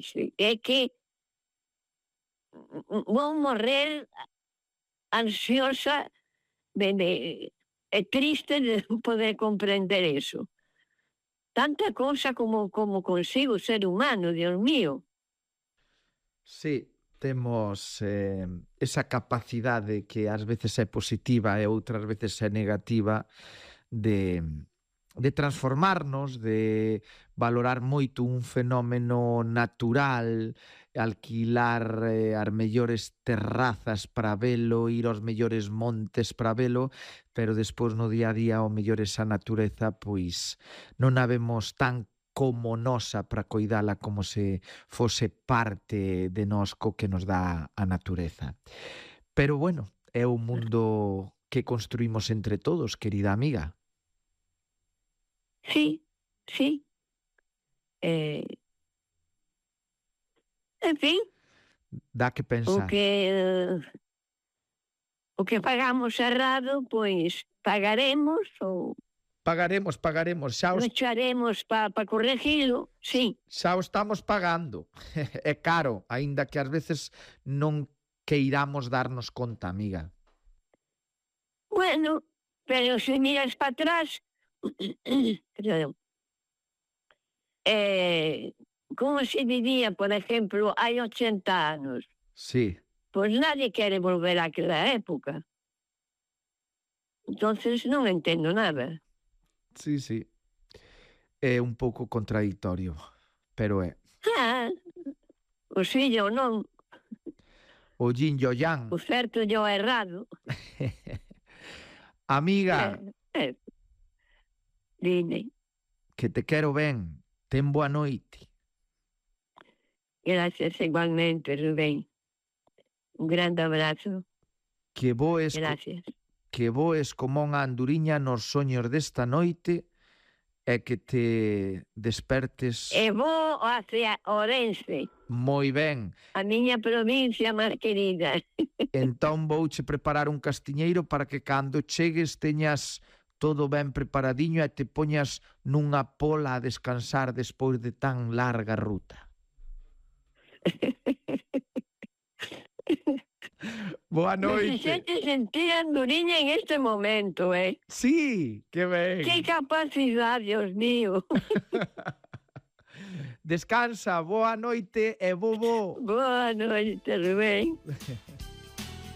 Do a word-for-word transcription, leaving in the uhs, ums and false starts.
dice, é que vou morrer ansiosa de, de, e triste de non poder comprender eso. Tanta cousa como, como consigo o ser humano, Dios mío. Sí, temos eh, esa capacidade que ás veces é positiva e outras veces é negativa de, de transformarnos, de valorar moito un fenómeno natural, alquilar eh, as mellores terrazas para velo, ir aos mellores montes para velo, pero despois no día a día o mellor esa natureza pois non a vemos tan como nosa para coidala como se fose parte de nós co que nos dá a natureza. Pero bueno, é un mundo que construímos entre todos, querida amiga. Sí, sí. Eh, en fin, Dá que o pensar. que eh, o que pagamos errado, pois pagaremos ou Pagaremos, pagaremos, xa os, lucharemos para pa corregilo, sí. xa o estamos pagando. É caro, aínda que ás veces non queiramos darnos conta, amiga. Bueno, pero se miras para atrás, perdón, eh, como se vivía, por exemplo, hai ochenta anos, Sí, pois nadie quere volver àquela época. Entonces non entendo nada. sí, sí. É un pouco contradictorio, pero é. Ah, o fillo non, O yin e o yang. o certo e o errado. Amiga, Eh, eh, dime, que te quero ben. Ten boa noite. gracias igualmente, Rubén. Un grande abrazo. Que voes, co, Gracias. que voes como unha anduriña nos soños desta noite e que te despertes E vou hacia Ourense, moi ben. a miña provincia máis querida. Entón vouche preparar un castiñeiro para que cando chegues teñas todo ben preparadiño e te poñas nunha pola a descansar despois de tan larga ruta. Boa Me noite. fixete sentir anduriña en este momento, eh? Sí, que ben. Que capacidade, Dios mío. Descansa, boa noite e bobo. Boa noite, Rubén.